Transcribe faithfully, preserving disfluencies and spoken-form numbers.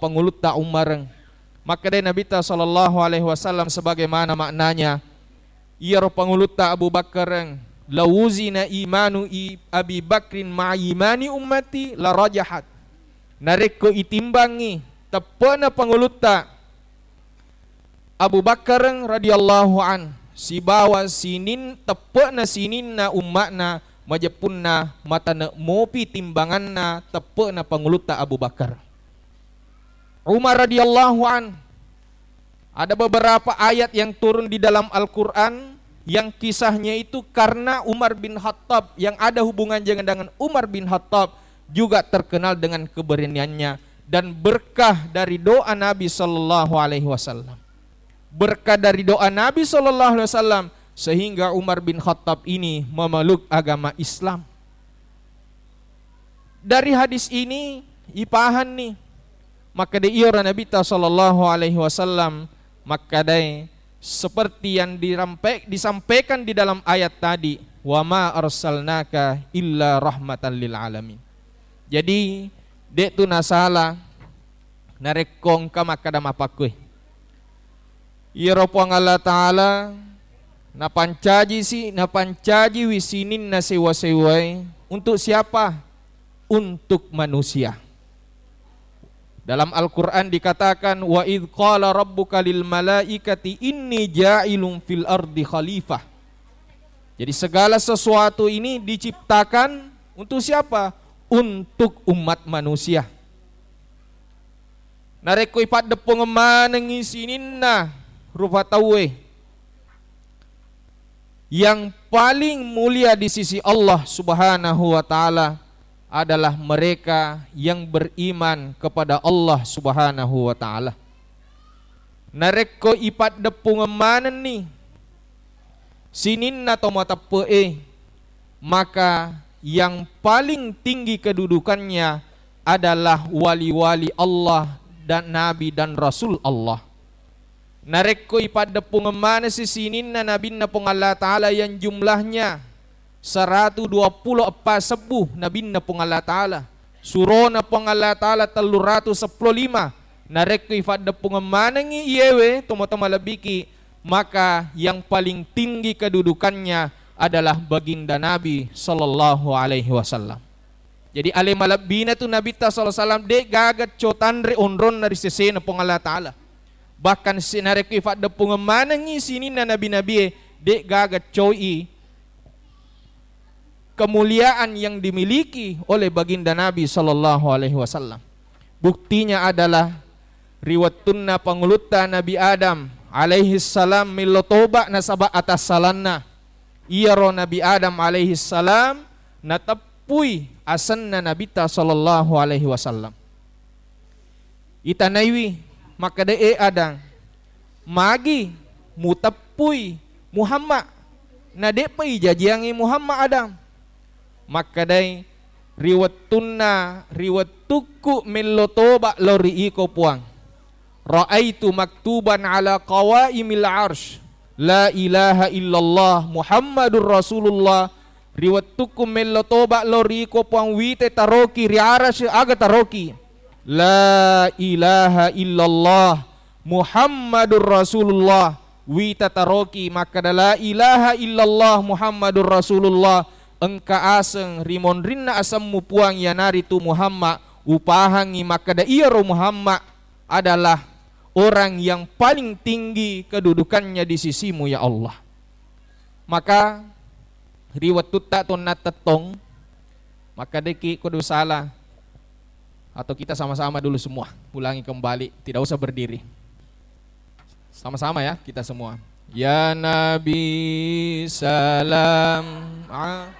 pangulutta Umareng. Makkedai Nabitta sallallahu alaihi wasallam sebagaimana maknanya, iyaro pangulutta Abu Bakkareng, "Lawuzina imanu i-, Abi Bakrin ma'a imani ummati larajahat." Narekko itimbangngi teppe'na pangulutta Abu Bakkareng radhiyallahu an sibawa sinin-, teppe'na sininna umma'na, majeppunna matane' mopi timbanganna teppe'na pangulutta Abu Bakar. Umar radhiyallahu an, ada beberapa ayat yang turun di dalam Al-Quran yang kisahnya itu karena Umar bin Khattab, yang ada hubungannya dengan Umar bin Khattab, juga terkenal dengan keberaniannya dan berkah dari doa Nabi sallallahu alaihi wasallam. Berkah dari doa Nabi sallallahu alaihi wasallam sehingga Umar bin Khattab ini memeluk agama Islam. Dari hadis ini ipahanni, makkeda iyaro Nabitta sallallahu alaihi wasallam, makkedai seperti yang dirampe-, disampaikan di dalam ayat tadi, "Wa ma arsalnaka illa rahmatan lil alamin." Jadi, de' tu nasala narekko engka makkeda mappakkue. Iyaro Puang Allah Ta'ala napancaji si-, napancajiwi sininna sewa-sewae untuk siapa? Untuk manusia. Dalam Al-Quran dikatakan, "Wa idh qala rabbuka lil malaikati inni ja'ilun fil ardi khalifah." Jadi segala sesuatu ini diciptakan untuk siapa? Untuk umat manusia. Narekko ipaddeppungeng manengngi sininna rupa tauwe, yang paling mulia di sisi Allah Subhanahu wa Ta'ala adalah mereka yang beriman kepada Allah Subhanahu wa Ta'ala. Narekko ipaddeppungeng manenni sininna to mateppe'e, maka yang paling tinggi kedudukannya adalah wali-wali Allah dan nabi dan rasul Allah. Narekko ipaddeppungeng manesi sininna nabinna Puang Allah Ta'ala yang jumlahnya seratu dua puluh eppa sebbu nabinna Puang Allah Ta'ala, surona Puang Allah Ta'ala telluratu seppulo lima. Narekko ifaddeppungeng manengngi iyewe tomatoa malebbiki, maka yang paling tinggi kedudukannya adalah baginda Nabi sallallahu alaihi wasallam. Jadi ale malebbina tu Nabitta sallallahu alaihi wasallam, de' gaga co tanre onronna ri sesena Puang Allah Ta'ala. Bahkan si-, narekko ifaddeppungeng manengngi sininna nabi-nabie, de' gaga coi kemuliaan yang dimiliki oleh baginda Nabi sallallahu alaihi wasallam. Buktinya adalah ri wettunna pangulutta Nabi Adam alaihi salam mello toba nasaba atassalanna, iyaro Nabi Adam alaihi salam nateppui asenna Nabitta sallallahu alaihi wasallam. Itanaiwi, makkeda, "E Adam, magi muteppui Muhammad? Na de'pa ijajiangngi Muhammad, Adam?" Makkedai, "Ri wettunna, ri wettukku mello toba lao ri iko, Puang, raaitu maktuban ala qawaimil arsh, la ilaha illallah Muhammadur Rasulullah." Ri wettukku mello toba lao ri iko, Puang, wite taroki ri arasy, aga taroki? La ilaha illallah Muhammadur Rasulullah. Wita taroki makkeda, "La ilaha illallah Muhammadur Rasulullah." Engka aseng ri monrinna asemmu, Puang, iyanaritu Muhammad. Upahangngi makkeda iyaro Muhammad adalah orang yang paling tinggi kedudukannya di sisimu, ya Allah. Maka ri wettutta tonna tettong, makkedaki ko dosala, atau kita sama-sama dulu semua, ulangi kembali, tidak usah berdiri. Sama-sama ya, kita semua. Ya Nabi salam a-